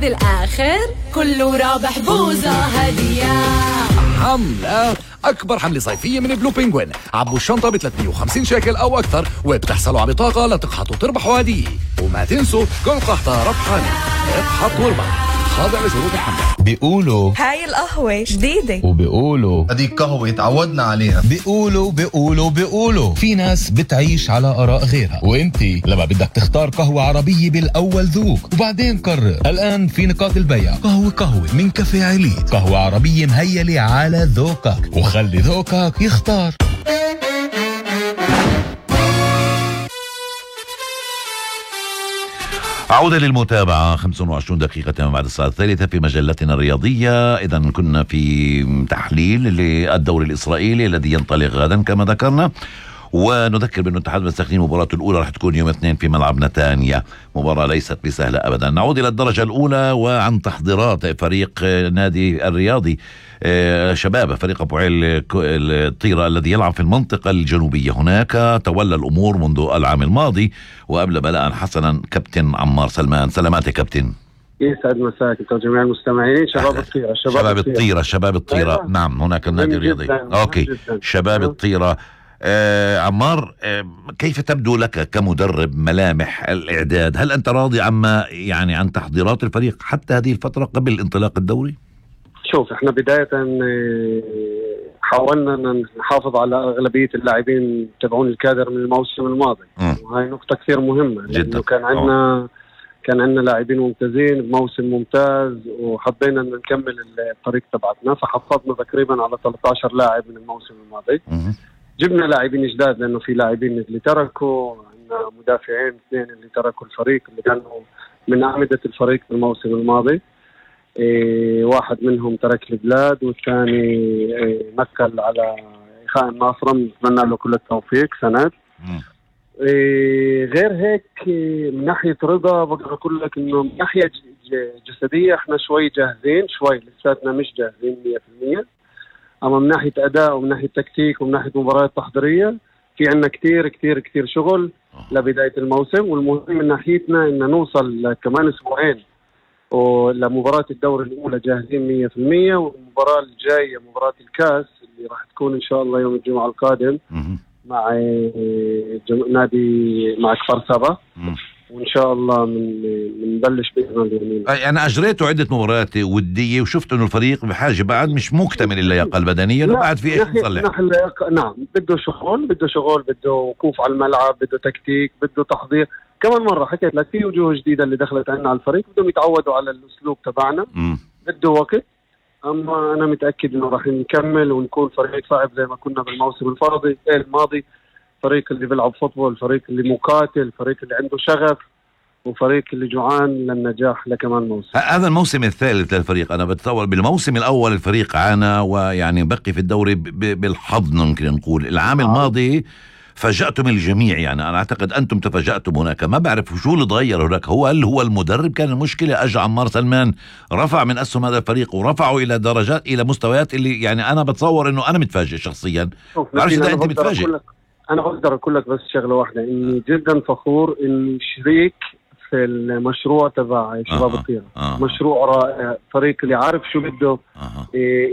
بالآخر كله رابح بوزة هدية. حملة أكبر حملة صيفية من بلو بينغوين. عبوا الشنطة ب350 شيكل أو أكثر وبتحصلوا على بطاقة لتقحطوا وتربحوا هدية. وما تنسوا كل قحطة ربحانة. اقحط واربح، خاضع لشروط الحملة. بيقولوا هاي القهوة جديدة، وبيقولوا هذيك قهوة تعودنا عليها. بيقولوا في ناس بتعيش على آراء غيرها، وانتي لما بدك تختار قهوة عربية بالأول ذوق وبعدين قرر. الآن في نقاط البيع قهوة من كافيه عليت، قهوة عربية مهيلة على ذوقك، وخلي ذوقك يختار. عودة للمتابعة 25 دقيقة بعد الساعة 3 في مجلتنا الرياضية. إذن كنا في تحليل للدوري الإسرائيلي الذي ينطلق غدا كما ذكرنا، ونذكر بأن الاتحاد المستقيم مباراة الأولى راح تكون يوم 2 في ملعب نتانيا، مباراة ليست بسهلة أبدا. نعود إلى الدرجة الأولى وعن تحضيرات فريق نادي الرياضي شباب فريق أبو عيل الطيرة الذي يلعب في المنطقة الجنوبية. هناك تولى الأمور منذ العام الماضي، وقبل بلاء حسنا كابتن عمار سلمان. سلامات يا كابتن. يسعد مساك انت وجميع المستمعين. شباب الطيرة أيوة. نعم هناك النادي الرياضي. أوكي جداً. شباب الطيرة. عمار، كيف تبدو لك كمدرب ملامح الإعداد؟ هل أنت راضي عما يعني عن تحضيرات الفريق حتى هذه الفترة قبل انطلاق الدوري؟ شوف، احنا بداية حاولنا نحافظ على أغلبية اللاعبين تبعون الكادر من الموسم الماضي، وهي نقطة كثير مهمة جدا. كان عندنا لاعبين ممتازين بموسم ممتاز، وحبينا أن نكمل الطريق تبعتنا، فحفظنا تقريبا على 13 لاعب من الموسم الماضي. جبنا لاعبين جداد لأنه في لاعبين اللي تركوا، عندنا مدافعين 2 اللي تركوا الفريق اللي كانوا من أعمدة الفريق في الموسم الماضي. واحد منهم ترك البلاد، والثاني نقل على إخاء الناصرة، نتمنى له كل التوفيق سند. غير هيك من ناحية رضا بقدر أقول لك إنه من ناحية جسدية إحنا شوي جاهزين، شوي لساتنا مش جاهزين 100%. أما من ناحية أداء ومن ناحية تكتيك ومن ناحية مباريات تحضيرية في عنا كتير كتير كتير شغل لبداية الموسم. والمهم من ناحيتنا إن نوصل كمان أسبوعين ولمباراة الدوري الأولى جاهزين 100%. والمباراة الجاية مباراة الكاس اللي راح تكون إن شاء الله يوم الجمعة القادم مع نادي مع كفر سبا، وإن شاء الله منبلش بإذن اليمين. أنا أجريته عدة مباريات ودية وشفت إنه الفريق بحاجة بعد مش مكتمل اللياقة البدنية، بعد في إيش نصلح. نعم، بده شغل، بده وقوف على الملعب، بده تكتيك، بده تحضير. كمان مرة حكيت لك في وجوه جديدة اللي دخلت عنا على الفريق، بدهم يتعودوا على الأسلوب تبعنا. بده وقت، أما أنا متأكد إنه راح نكمل ونكون فريق صعب زي ما كنا بالموسم الماضي. فريق اللي بيلعب فوتبول، فريق اللي مقاتل، فريق اللي عنده شغف، وفريق اللي جوعان للنجاح لكمان موسم. هذا الموسم الثالث للفريق. أنا بتصور بالموسم الأول الفريق عانى ويعني بقي في الدوري بالحظ ممكن نقول. العام الماضي فاجأتم الجميع، يعني أنا أعتقد أنتم تفاجأتم هناك. ما بعرف شو اللي تغير هناك. هل هو المدرب كان المشكلة؟ أجى عمار سلمان رفع من أسهم هذا الفريق ورفعوا إلى درجات، إلى مستويات اللي يعني أنا بتصور إنه أنا متفاجئ شخصيا. بعرفش إذا أنت متفاجئ. أنا بقدر أقول لك بس شغلة واحدة، إني جدا فخور إني شريك في المشروع تبع شباب الطيرة. مشروع رائع، فريق اللي عارف شو بده،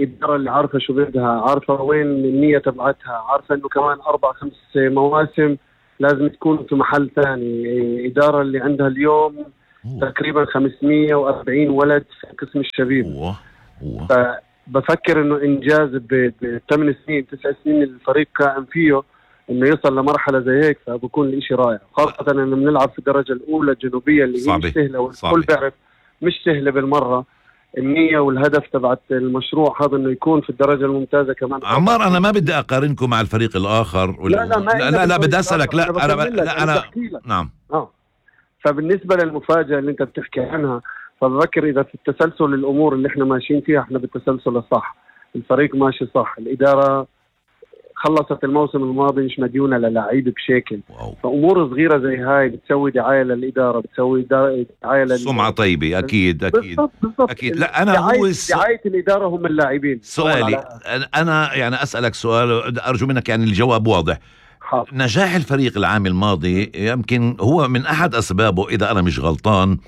إدارة اللي عارفة شو بدها، عارفة وين النية تبعتها، عارفة إنه كمان 4-5 مواسم لازم تكون في محل ثاني. إدارة اللي عندها اليوم تقريبا 540 ولد في قسم الشباب. فبفكر إنه إنجاز ب8 سنين 9 سنين الفريق قائم فيه إنه يصل لمرحلة زي هيك، فبكون الإشي رائع. خاصة إنه بنلعب في الدرجة الأولى الجنوبية اللي هي مش سهلة، والكل بيعرف مش سهلة بالمرة. النية والهدف تبعت المشروع هذا إنه يكون في الدرجة الممتازة كمان. عمار، أنا ما بدي أقارنكم مع الفريق الآخر. لا بدي أسألك. أنا نعم. فبالنسبة للمفاجأة اللي أنت بتحكي عنها، فبفكر إذا في التسلسل الأمور اللي إحنا ماشيين فيها إحنا بالتسلسل الصح، الفريق ماشي صح، الإدارة خلصت الموسم الماضي مش مديونة للاعيب بشكل. فأمور صغيرة زي هاي بتسوي دعاية للإدارة، بتسوي دعاية سمعة طيبة. أكيد. أكيد. لا أنا دعاية الإدارة هم اللاعبين. سؤالي أنا يعني أسألك سؤال أرجو منك يعني الجواب واضح. نجاح الفريق العام الماضي يمكن هو من أحد أسبابه، إذا أنا مش غلطان،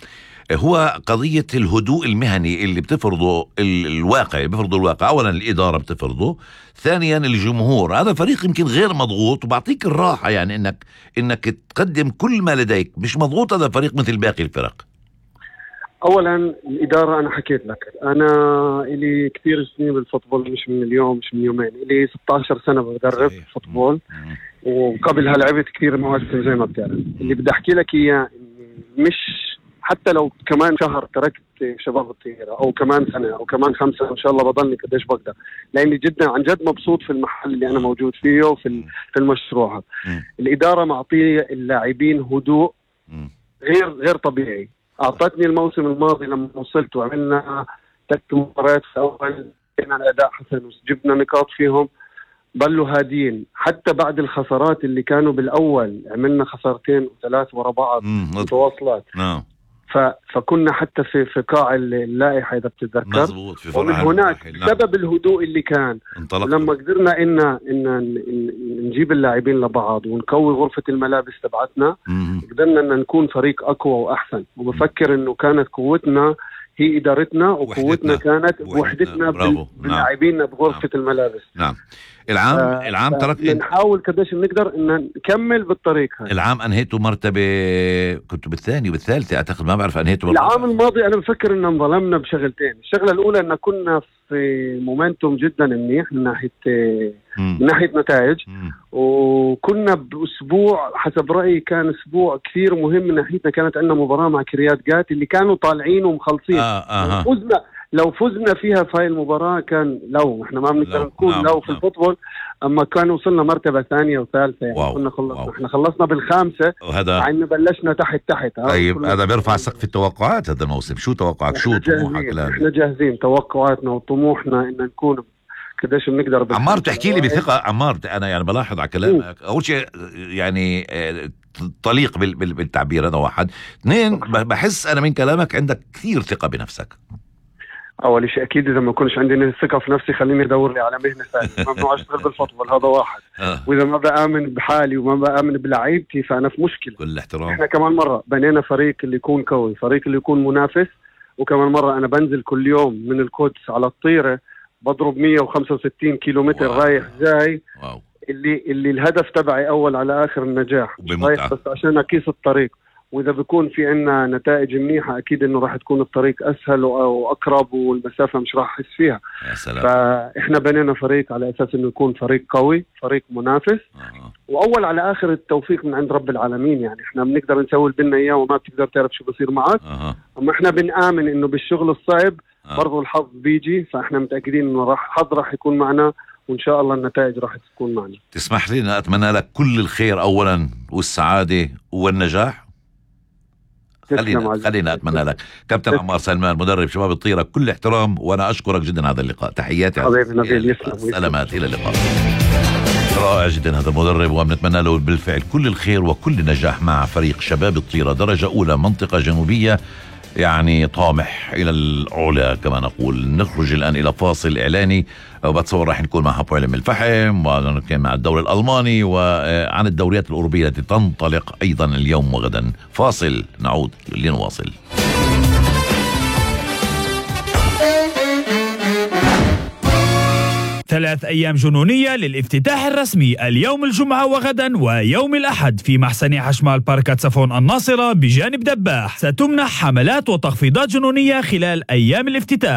هو قضية الهدوء المهني اللي بتفرضه الواقع، أولا الإدارة بتفرضه، ثانيا الجمهور. هذا فريق يمكن غير مضغوط وبعطيك الراحة، يعني إنك تقدم كل ما لديك، مش مضغوط. هذا فريق مثل باقي الفرق. اولا الاداره، انا حكيت لك انا الي كثير سنين بالفوتبول، مش من اليوم مش من يومين، الي 16 سنه بدرب فوتبول، وقبلها لعبت كثير مواسم زي ما بتعرف. اللي بدي احكي لك اياه مش حتى لو كمان شهر تركت شباب الطيرة او كمان سنه او كمان 5 ان شاء الله بضلني قديش بقدر، لاني جدا عن جد مبسوط في المحل اللي انا موجود فيه وفي المشروع. الاداره معطيه اللاعبين هدوء غير طبيعي. أعطتني الموسم الماضي لما وصلت وعملنا 3 مباريات في أول، كان الأداء حسن وجبنا نقاط فيهم، ضلوا هادين حتى بعد الخسارات اللي كانوا بالأول. عملنا 2 و3 ورا بعض متواصلات. فكنا حتى في قاع اللائحة إذا بتتذكر، ومن هناك سبب الهدوء اللي كان لما قدرنا إن نجيب اللاعبين لبعض ونقوي غرفة الملابس تبعتنا، قدرنا إن نكون فريق أقوى وأحسن. وبفكر إنه كانت قوتنا هي إدارتنا، وقوتنا كانت وحدتنا باللاعبين بغرفة الملابس. نعم. العام ترك نحاول قديش بنقدر ان نكمل بالطريق هذا. العام انهيتوا مرتبه، كنتوا بالثاني والثالثه اعتقد، ما بعرف انهيتوا العام الماضي. انا بفكر ان انظلمنا بشغلتين. الشغله الاولى ان كنا في مومنتوم جدا منيح من ناحيه نتائج، وكنا باسبوع حسب رايي كان اسبوع كثير مهم من ناحيتنا. كانت عندنا مباراه مع كريات جات اللي كانوا طالعين ومخلصين. لو فزنا فيها في هاي المباراة كان، لو احنا ما بنقدر نكون لو في الفوتبول، اما كان وصلنا مرتبة 2 و3 يعني. كنا خلصنا، احنا خلصنا بال5، مع انه بلشنا تحت. طيب هذا بيرفع سقف التوقعات هذا الموسم. شو توقعك؟ شو طموحك؟ احنا جاهزين. توقعاتنا وطموحنا ان نكون قديش بنقدر. عمار تحكي لي بثقة. عمار انا يعني بلاحظ على كلامك، اول شيء يعني طليق بالتعبير، هذا واحد. 2 بحس انا من كلامك عندك كثير ثقة بنفسك. اول شيء اكيد اذا ما كنتش عندي الثقه في نفسي خليني ادور لي على مهنه ثانيه. ممنوع اشتغل بالفوتبول، هذا واحد. واذا ما بامن بحالي وما بامن بلعيبتي فانا في مشكله. كل احترام. احنا كمان مره بنينا فريق اللي يكون قوي، فريق اللي يكون منافس. وكمان مره انا بنزل كل يوم من القدس على الطيره، بضرب 165 كيلومتر رايح جاي. اللي الهدف تبعي اول على اخر النجاح، رايح بس عشان اقيس الطريق. وإذا بيكون في عنا نتائج منيحة أكيد إنه راح تكون الطريق أسهل وأقرب، والمسافة مش راح أحس فيها. يا سلام. فإحنا بنينا فريق على أساس إنه يكون فريق قوي، فريق منافس. وأول على آخر التوفيق من عند رب العالمين. يعني إحنا بنقدر نسوي لنا إياه وما بتقدر تعرف شو بصير معك. أما إحنا بنآمن إنه بالشغل الصعب برضو الحظ بيجي. فإحنا متأكدين إنه الحظ راح يكون معنا، وإن شاء الله النتائج راح تكون معنا. تسمح لي أن أتمنى لك كل الخير أولا والسعادة والنجاح. خلينا أتمنى لك كابتن عمار سلمان مدرب شباب الطيرة، كل احترام، وأنا أشكرك جدا هذا اللقاء. تحياتي حبيبي نبيل، سلامات، إلى اللقاء. رائع جدا هذا المدرب، وبنتمنى له بالفعل كل الخير وكل النجاح مع فريق شباب الطيرة درجة أولى منطقة جنوبية، يعني طامح إلى العلا كما نقول. نخرج الآن إلى فاصل إعلاني، وبتصور راح نكون مع هابو علم الفحم، ونكون مع الدوري الألماني، وعن الدوريات الأوروبية التي تنطلق أيضا اليوم وغدا. فاصل، نعود لنواصل. ثلاث أيام جنونية للافتتاح الرسمي اليوم الجمعة وغدا ويوم الأحد في محسن حشمال باركات صفون الناصرة بجانب دباح. ستمنح حملات وتخفيضات جنونية خلال أيام الافتتاح.